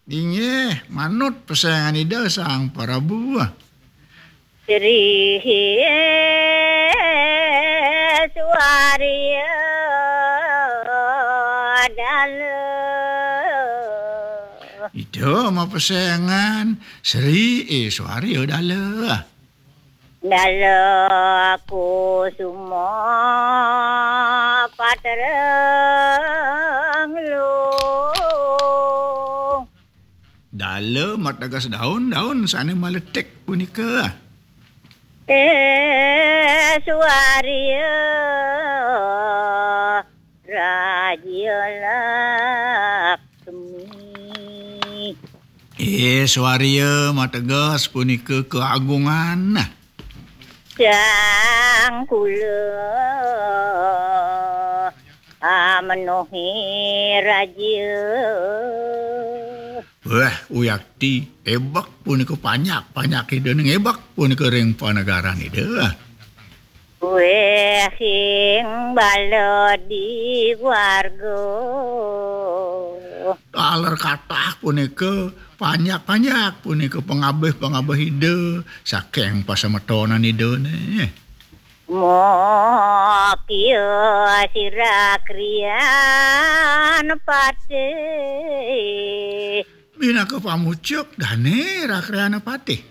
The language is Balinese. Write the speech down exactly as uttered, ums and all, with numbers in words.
Inggih, manut pesengan Ida Sang Prabu. Sri Suarya Dala. Ida mapesengan Sri Suarya Dala. Dala Kusuma Patrang Luh. Dala mateges daun-daun sane maletik punika. Eh, Suarya Raja Laksmi. Eh, Suarya mateges punika keagungan. Sang kula amenuhi raja. Wah, uyakti, ebek punika panjak, panjak Ida ning ebek punika ring panegaran Ida. Weh, sing bala di warga. Taler katah punika, panjak-panjak punika pangabih-pangabih Ida, saking pasemetonan Ida ne. Mokia sira krian patih. Minaka pamucuk dane rakriana patih.